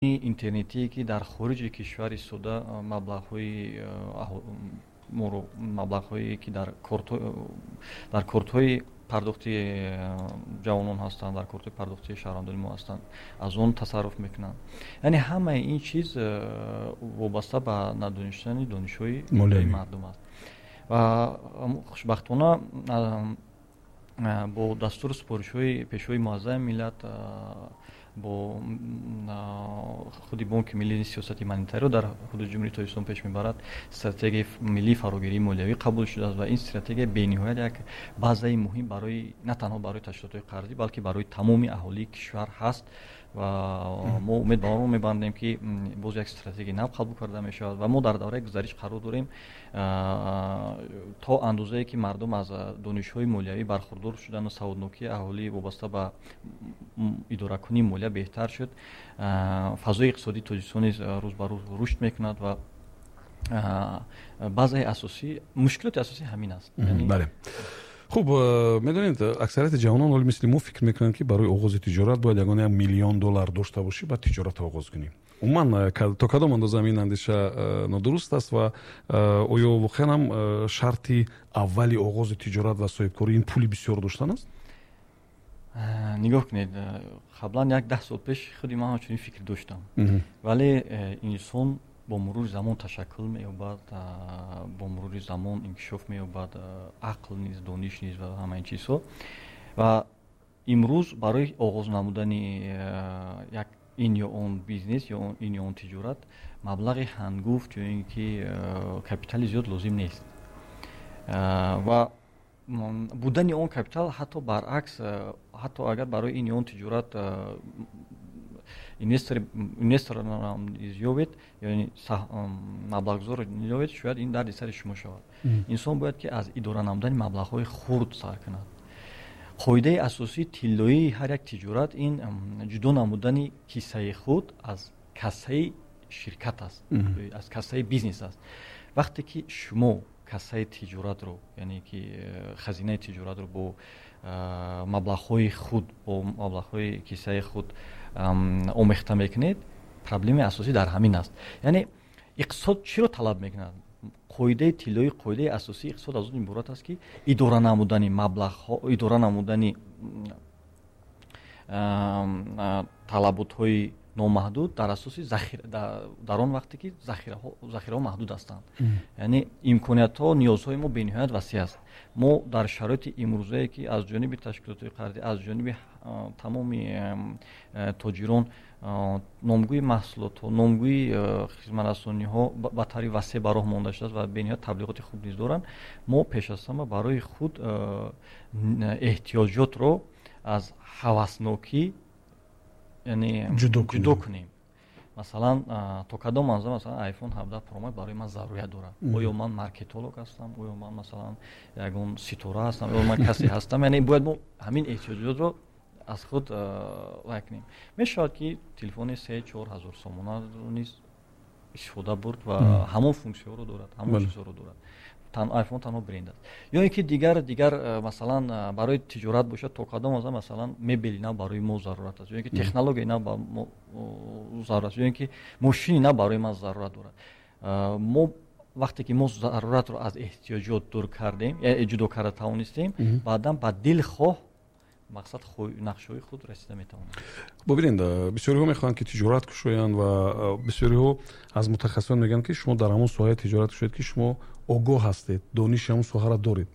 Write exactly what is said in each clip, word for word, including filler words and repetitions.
Интернетие, ки дар хориҷи кишвар истода, маблағҳои моро, маблағҳое, ки дар дар кортҳои пардохти ҷавонон ҳастанд, дар кортҳои пардохти шаҳрвандони мо ҳастанд, аз он тасарруф мекунанд. Яъне ҳамаи ин чиз вобаста ба надонистани донишҳои молияи мардум аст. Ва хушбахтона бо дастуру супоришҳои Пешвои Муаззами миллат, бо худи Бонки Миллӣ сиёсати монетариро дар ҳудуди Ҷумҳурии Тоҷикистон пеш мебарад, стратегияи миллии фарогирии молиявӣ қабул шудааст ва ин стратегия бениҳоят як базаи муҳим барои на танҳо барои ташкилотҳои қарзӣ, балки барои тамоми аҳолии кишвар ҳаст. Ва мо умед ба он мебандем, ки боз як стратегияи нав қабул карда мешавад ва мо дар давраи гузариш қарор дорем. То андозае ки мардум аз донишҳои молиявӣ бархурдор шуданд ва саводнокии аҳолӣ вобаста ба идоракунии молия беҳтар шуд, фазои иқтисодии Тоҷикистон низ рӯз ба рӯз рушд мекунад. Ва баъзеи асосӣ, мушкилоти асосӣ ҳамин аст. Бале, хуб, медонед, аксарияти ҷавонон ҳоли мисли мо фикр мекунанд, ки барои оғози тиҷорат бояд ягон як миллион доллар дошта бошӣ, баъд тиҷоратро оғоз кунӣ. Умуман, то кадом андоза ин андеша нодуруст аст ва оё воқеан ҳам шарти аввали оғози тиҷорат ва соҳибкорӣ ин пули бисёр доштан аст? Нигоҳ кунед, қаблан, як даҳ сол пеш, худи ман чунин фикр доштам, вале инсон бо мурури замон ташаккул меёбад, бо мурури замон инкишоф меёбад, ақл низ, дониш низ ва ҳама ин чизҳо. Ва имрӯз барои оғоз намудани як ин ё он бизнес ё ин ё он тиҷорат маблағи ҳангуфт ё ин ки капитали зиёд лозим нест. Ва будани он капитал ҳатто баръакс, ҳатто агар барои ин ё он тиҷорат инвесторро ёбед, яъне маблағгузорро ёбед, шояд ин дарди сари шумо шавад. Инсон бояд ки аз идора намудани маблағҳои хурд сар кунад. Қоидаи асосии тиллоии ҳар як тиҷорат ин ҷудо намудани киссаи худ аз кассаи ширкат аст, аз кассаи бизнес аст. Вақте ки шумо кассаи тиҷоратро, яъне ки хазинаи тиҷоратро бо маблағҳои худ, бо маблағҳои киссаи худ омехта мекунед, проблемаи асосӣ дар ҳамин аст. Яъне иқтисод чиро талаб мекунад? Қоидаи тиллоӣ, қоидаи асосии иқтисод аз он иборат аст, ки идора намудани маблағҳо, идора намудани талаботҳои номаҳдуд дар асоси дар он вақте ки захираҳо маҳдуд ҳастанд. Яъне имкониятҳо, ниёзҳои мо бениҳоят васеъ аст. Мо дар шароити имрӯзае, ки аз ҷониби ташкилотҳои қарзӣ, аз ҷониби тамоми тоҷирон номгӯи маҳсулотҳо, номгӯи хизматрасониҳо ба таври васеъ ба роҳ монда шудааст ва бениҳоят таблиғоти хуб низ доранд, мо пеш аз ҳама барои худ эҳтиёҷотро аз ҳаваснокӣ, яъне, ҷудо кунем. Масалан, то кадом андоза, масалан, iPhone ҳабдаҳ Pro Max барои ман зарурият дорад? Оё ман маркетолог ҳастам? Оё ман, масалан, ягон ситора ҳастам? Оё ман касе ҳастам? Яъне бояд мо ҳамин эҳтиёҷотро аз худ вай кунем. Мешавад, ки телефони се чор ҳазор сомонаро низ истифода бурд ва ҳамон функсияҳоро дорад, ҳамон чизҳоро дорад. iPhone танҳо бренд аст. Ё ин ки дигар дигар, масалан, барои тиҷорат бошад, то кадом андоза, масалан, мебели нав барои мо зарурат аст, ё ин ки технологияи нав ба мо зарурат аст, ё ин ки мошини нав барои ман зарурат дорад? Мо вақте ки мо заруратро аз эҳтиёҷот дур кардем, ҷудо карда тавонистем, баъдан ба дилхоҳ мақсад, нақшаҳои худ расида метавонем. Бубинед, бисёриҳо мехоҳанд, ки тиҷорат кушоянд ва бисёриҳо аз мутахассисон мегӯянд, ки шумо дар ҳамон соҳаи тиҷорат кушоед, ки шумо огоҳ ҳастед, дониши ҳамон соҳаро доред.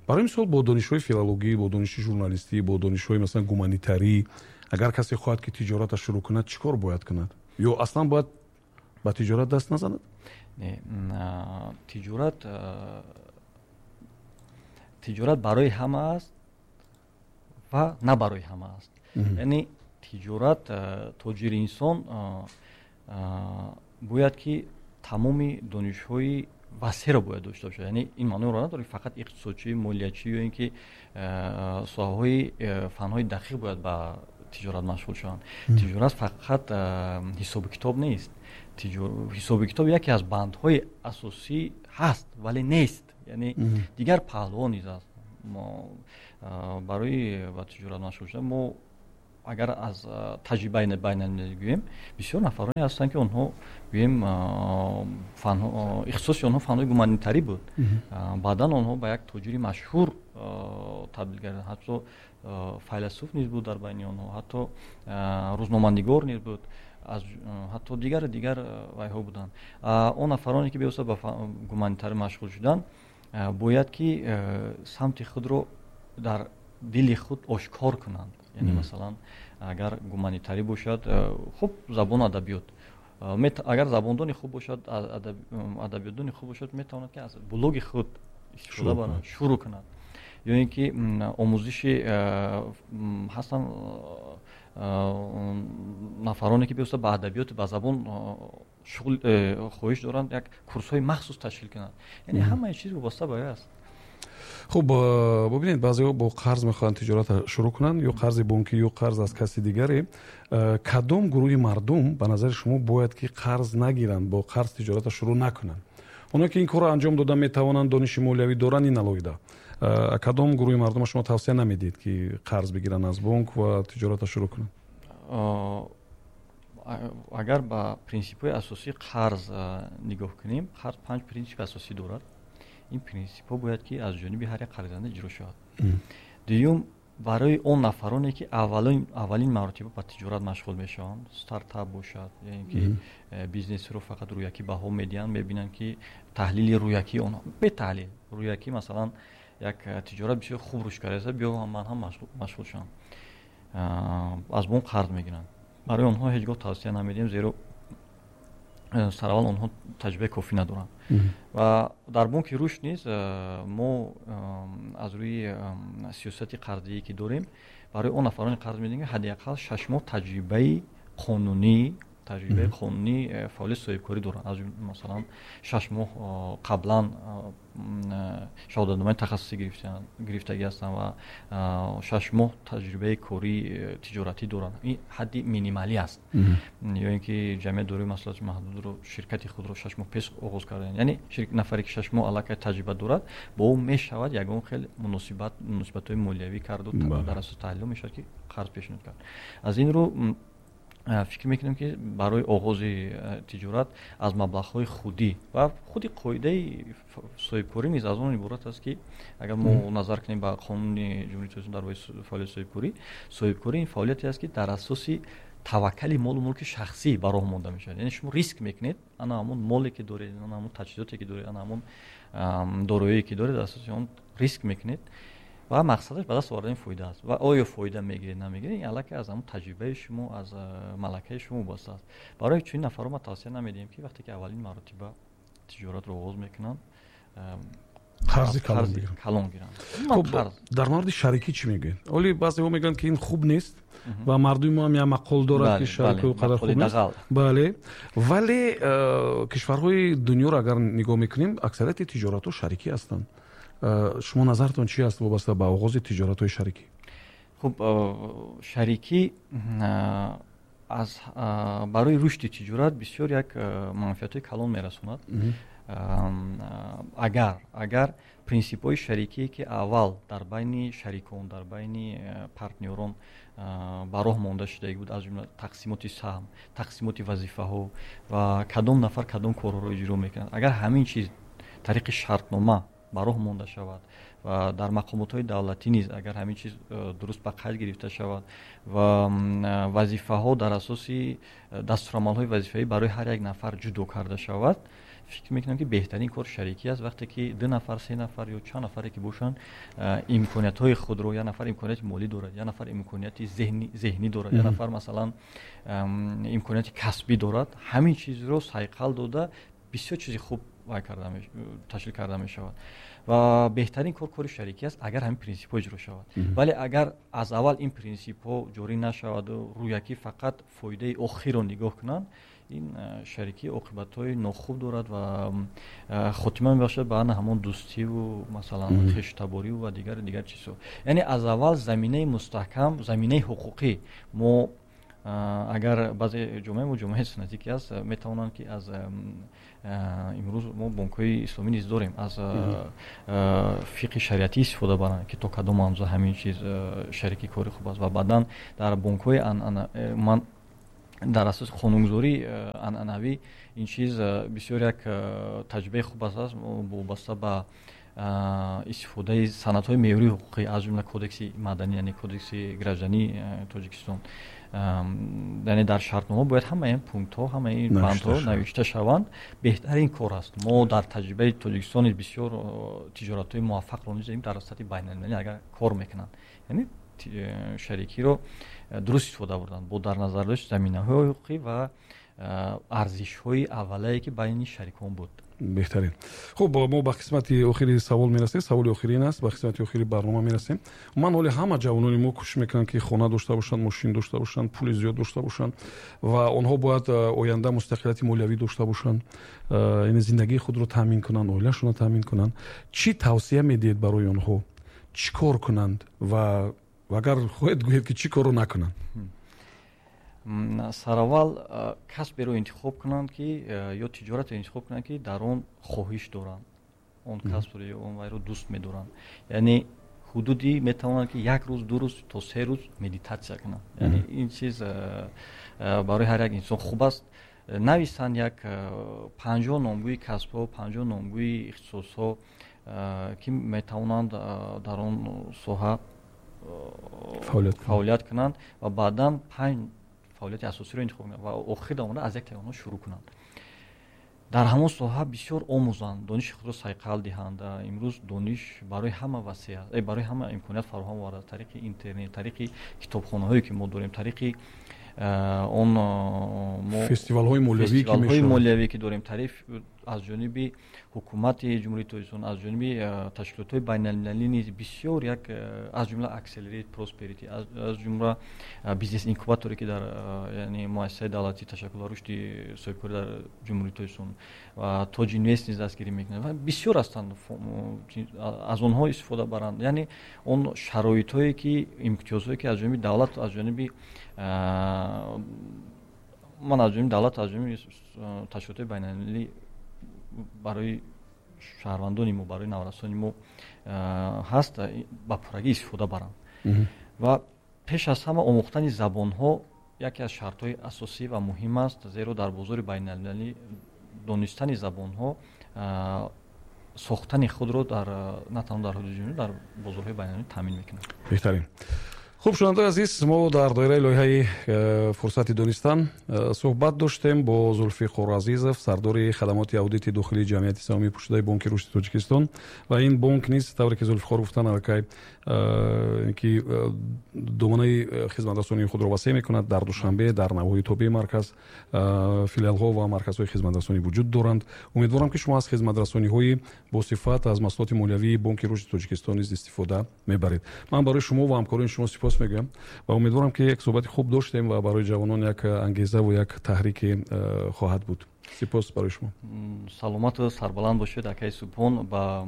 Барои мисол, бо донишҳои филологӣ, бо дониши журналистӣ, бо донишҳои, масалан, гуманитарӣ агар касе хоҳад, ки тиҷоратро шурӯъ кунад, чӣ кор бояд кунад ё аслан бояд ба тиҷорат даст назанад? Тиҷорат тиҷорат барои ҳама аст ва на барои ҳама аст. Яъне тиҷорат, тоҷири инсон бояд ки тамоми донишҳои васеъро бояд дошта бошад. Яъне ин маъноро надорад, ки фақат иқтисодчӣ, молиячӣ ё ин ки соҳаҳои фанҳои дақиқ бояд ба тиҷорат машғул шаванд. Тиҷорат фақат ҳисобу китоб нест. Ҳисобу китоб яке аз бандҳои асосӣ ҳаст, вале нест, яъне дигар паҳлуҳо низ аст. Барои ба тиҷорат машғул шудан мо Агар аз таҷрибаи байналмилалӣ гӯем, бисёр нафароне ҳастанд, ки онҳо, гӯем, ихтисоси онҳо фанҳои гуманитарӣ буд. Баъдан онҳо ба як тоҷири машҳур табдил гардиданд. Ҳатто файласуф низ буд дар байни онҳо, ҳатто рӯзноманигор низ буд, ҳатто дигар дигар вайҳо буданд. Он нафароне, ки бевосита ба гуманитарӣ машғул шуданд, бояд ки самти худро дар дили худ ошкор кунанд. Яъне, масалан, агар гуманитарӣ бошад, хуб, забону адабиёт, агар забондони хуб бошад, адабиётдони хуб бошад, метавонад, ки аз блоги худ истифода барад, шурӯъ кунад. Ё ин ки омӯзиши ҳастанд нафароне, ки бевосита ба адабиёту ба забон шуғл хоҳиш доранд, як курсҳои махсус ташкил кунанд. Яъне ҳамаи чиз вобаста ба аст. Хуб, бубинед, баъзеҳо бо қарз мехоҳанд тиҷоратро шурӯъ кунанд, ё қарзи бонкӣ, ё қарз аз каси дигаре. Кадом гурӯҳи мардум ба назари шумо бояд ки қарз нагиранд, бо қарз тиҷоратро шурӯъ накунанд? Оное ки ин корро анҷом дода метавонанд, дониши молиявӣ доранд, ин алоҳида. Кадом гурӯҳи мардума шумо тавсия намедиҳед, ки қарз бигиранд аз бонк ва тиҷоратро шурӯъ кунанд? Агар ба принсипҳои асосии қарз нигоҳ кунем, қарз панҷ принсипи асосӣ дорад. Ин принсипҳо бояд ки аз ҷониби ҳар як қарздиҳанда иҷро шавад. Дуюм, барои он нафароне, ки аввалин маротиба ба тиҷорат машғул мешаванд, стартап бошад ё ин ки э, бизнесро фақат рӯякӣ баҳо медиҳанд, мебинанд, ки таҳлили рӯякии онҳо, бетаҳлил, рӯякӣ, масалан, як тиҷорат бисёр хуб рушд кардааст, биё ман ҳам машғул шавам, аз бонк қарз мегиранд, барои онҳо ҳеҷ гоҳ тавсия намедиҳем, зеро э, сараввал онҳо таҷрибаи кофӣ надоранд. Ва дар Бонки Рушд низ э, мо аз рӯи сиёсати қарздиҳӣ, ки дорем, барои он нафароне қарз медиҳем, ки ҳадди ақал шаш моҳ таҷрибаи қонунӣ таҷрибаи қонунӣ э, фаъолияти соҳибкорӣ доранд. Аз масалан, шаш моҳ қаблан шаҳодатномаи тахассусӣ гирифтагӣ ҳастанд ва шаш моҳ таҷрибаи кории э, тиҷоратӣ доранд. Ин ҳадди минималӣ аст. Ё ин ки ҷамъияти дорои масъулияти маҳдудро, ширкати худро шаш моҳ пеш оғоз карданд. Яъне нафаре, ки шаш моҳ аллакай таҷриба дорад, бо ӯ мешавад ягон хел муносибат муносибатҳои молиявӣ карду дар асоси таҳлилҳо мешавад, ки қарз пешниҳод кард. Аз ин рӯ фикр мекунем, ки барои оғози тиҷорат аз маблағҳои худӣ ва худи қоидаи соҳибкорӣ низ аз он иборат аст, ки агар мо назар кунем ба Қонуни Ҷумҳурии Тоҷикистон дар бораи фаъолияти соҳибкорӣ, соҳибкорӣ ин фаъолияте аст, ки дар асоси таваккали молу мулки шахсӣ ба роҳ монда мешавад. Яъне шумо риск мекунед, ана ҳамон моле, ки доред, ана ҳамон таҷҳизоте, ки доред, ана ҳамон дороие, ки доред, дар асоси он риск мекунед ва мақсадаш ба даст овардани фоида аст. Ва оё фоида мегиред, намегиред, ин аллакай аз ҳамон таҷрибаи шумо, аз малакаи шумо вобаста аст. Барои чунин нафарро ма тавсия намедиҳем, ки вақте ки аввалин маротиба тиҷоратро оғоз мекунанд, қарзи калон гиранд. Хуб, дар мавриди шарикӣ чӣ мегӯед? Оли баъзеҳо мегӯянд, ки ин хуб нест ва мардуми мо ҳам як мақол дорад, ки шарикӣ қадар хуб нест. Бале, вале кишварҳои дунёро агар нигоҳ мекунем, аксарияти тиҷоратҳо шарикӣ ҳастанд. Шумо назартон чи аст вобаста ба оғози тиҷоратҳои шарикӣ? Хуб, шарикӣ аз барои рушди тиҷорат бисёр як манфиатҳои калон мерасонад, агар агар принсипҳои шарикие, ки аввал дар байни шарикон, дар байни партнёрон ба роҳ монда шудагӣ буд, аз ҷумла тақсимоти саҳм, тақсимоти вазифаҳо ва кадом нафар кадом корҳоро иҷро мекунад, агар ҳамин чиз тариқи шартнома ба роҳ монда шавад ва дар мақомотҳои давлатӣ низ агар ҳамин чиз э, дуруст ба қайд гирифта шавад ва вазифаҳо дар асоси э, дастурамалҳои вазифавӣ барои ҳар як нафар ҷудо карда шавад, фикр мекунам, ки беҳтарин кор шарикӣ аст. Вақте ки ду нафар, се нафар ё чанд нафаре ки бошанд, э, имкониятҳои худро, як нафар имконияти молӣ дорад, як нафар имконияти зеҳнӣ дорад, як нафар, масалан, имконияти касбӣ дорад, ҳамин чизро сайқал дода, бисёр чизи хуб вай карда ташкил карда мешавад. Ва беҳтарин кор кори шарикӣ аст, агар ҳамин принсипҳо иҷро шавад. Вале агар аз аввал ин принсипҳо ҷорӣ нашаваду рӯякӣ фақат фоидаи охирро нигоҳ кунанд, ин шарикӣ оқибатҳои нохуб дорад ва хотима мебахшад ба ана ҳамон дӯстиву, масалан, хештабориву ва дигар дигар чизҳо. Яъне аз аввал заминаи мустаҳкам, заминаи ҳуқуқӣ мо Агар баъзе ҷомеа мо ҷомеаи суннатӣ ки аст, метавонанд ки аз имрӯз мо бонкҳои исломӣ низ дорем, аз фиқҳи шариатӣ истифода баранд, ки то кадом андоза ҳамин чиз шарики кори хуб аст. Ва баъдан дар бонкҳои ман дар асоси қонунгузории анъанавӣ ин чиз бисёр як таҷрибаи хуб аст, вобаста ба истифодаи санадҳои меъёрии ҳуқуқӣ, аз ҷумла кодекси маданӣ, яъне кодекси граждании Тоҷикистон. Яъне дар шартнома бояд ҳамаи ин пунктҳо, ҳамаи ин бандҳо навишта шаванд. Беҳтарин кор аст. Мо дар таҷрибаи Тоҷикистон бисёр тиҷоратҳои муваффақро низ дар сатҳи байналмилалӣ агар кор мекунанд, яъне шарикиро дуруст истифода бурданд бо дар назардошти заминаҳои ҳуқуқӣ ва арзишҳои аввалае ки байни шарикон буд. Беҳтарин. Хуб, мо ба қисмати охири савол мерасем. Саволи охирин аст, ба қисмати охири барнома мерасем. Ман ҳоле ҳама ҷавонони мо кӯшиш мекунанд, ки хона дошта бошанд, мошин дошта бошанд, пули зиёд дошта бошанд ва онҳо бояд оянда мустақилияти молиявӣ дошта бошанд, яъне зиндагии худро таъмин кунанд, оилаашонро таъмин кунанд. Чӣ тавсия медиҳед барои онҳо? Чӣ кор кунанд ва агар хоҳед гӯед ки чӣ корро накунанд? Сараввал касберо интихоб кунанд ки ё тиҷоратеро интихоб кунанд, ки дар он хоҳиш доранд, он касбро ё он вайро дӯст медоранд. Яъне ҳудуди метавонанд ки як рӯз, ду рӯз то се рӯз медитатсия кунанд. Яъне ин чиз барои ҳар як инсон хуб аст. Нависанд як панҷоҳ номгӯи касбҳо, панҷоҳ номгӯи ихтисосҳо, ки метавонанд дар он соҳа фаъолият кунанд ва баъдан панҷ фаъолияти асосиро интихоб кунанд ва охир омада аз яктаи онҳо шурӯъ кунанд. Дар ҳамон соҳа бисёр омӯзанд, дониши худро сайқал диҳанд. Имрӯз дониш барои ҳама васеъ аст, барои ҳама имконият фароҳам овард, тариқи интернет, тариқи китобхонаҳое ки мо дорем, тариқи он фестивалҳои молиявӣ ки дорем, тариқ аз ҷониби ҳукумати Ҷумҳурии Тоҷикистон, аз ҷониби ташкилотҳои байналмилалӣ низ бисёр як, аз ҷумла Accelerate Prosperity, аз ҷумла бизнес инкубаторе ки дар яъне муассисаи давлатии ташаккул ва рушди соҳибкорӣ дар Ҷумҳурии Тоҷикистон ва Тоҷинвест низ дастгирӣ мекунад ва бисёр ҳастанд, аз онҳо истифода баранд. Яъне он шароитҳое ки имтиёзҳое ки аз ҷониби давлат, аз ҷониби ман аз ҷониби давлат, аз ҷониби ташкилотҳои байналмилалӣ барои шаҳрвандони мо, барои наврасони мо ҳаст, ба пуррагӣ истифода баранд. Ва пеш аз ҳама омӯхтани забонҳо яке аз шартҳои асосӣ ва муҳим аст, зеро дар бозори байналмилалӣ донистани забонҳо сохтани худро дар на танҳо дар ҳудуди ҷумҳурӣ, дар бозорҳои байналмилалӣ таъмин мекунад. Беҳтарин. Хуб, шунавандаи азиз, мо дар доираи лоиҳаи фурсати донистан суҳбат доштем бо Зулфиқор Азизов, сардори хадамоти аудити дохилии ҷамъияти саҳомии пӯшидаи Бонки Рушди Тоҷикистон. Ва ин бонк низ, тавре ки Зулфиқор гуфтанд, аллакай ки доманаи хизматрасонии худро васеъ мекунад. Дар Душанбе, дар навоҳии тобеи марказ филиалҳо ва марказҳои хизматрасонӣ вуҷуд доранд. Умедворам, ки шумо аз хизматрасониҳои босифат аз маҳсулоти молиявии Бонки Рушди Тоҷикистон низ истифода мебаред. Ман барои шумо ва ҳамкорони шумо сипос мегӯям ва умедворам, ки як суҳбати хуб доштем ва барои ҷавонон як ангеза ва як таҳрике хоҳад буд. Сипос барои шумо. Саломату сарбаланд бошед, акаи Субҳон. Ба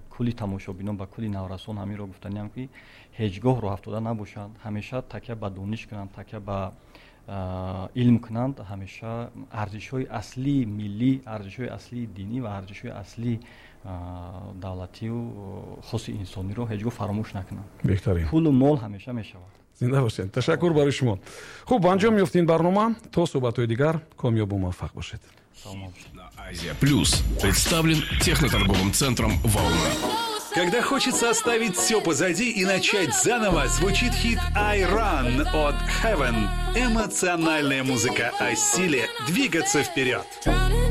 кулли тамошобинон, ба кулли наврасон ҳаминро гуфтаниам, ки ҳеҷ гоҳ роҳафтода набошанд, ҳамеша такя ба дониш кунанд, такя ба илм кунанд, ҳамеша арзишҳои аслии миллӣ, арзишҳои аслии динӣ ва арзишҳои аслии давлатию хоси инсониро ҳеҷ гоҳ фаромӯш накунанд. Беҳтарин. Пулу мол ҳамеша мешавад. Зинда бошед. Ташаккур барои шумо. Хуб, ба анҷом меёфт ин барнома. То суҳбатҳои дигар комёбу муваффақ бошед. Азия Плюс представлен техноторговым центром «Волна». Когда хочется оставить все позади и начать заново, звучит хит «I Run» от Heaven. Эмоциональная музыка о силе двигаться вперед.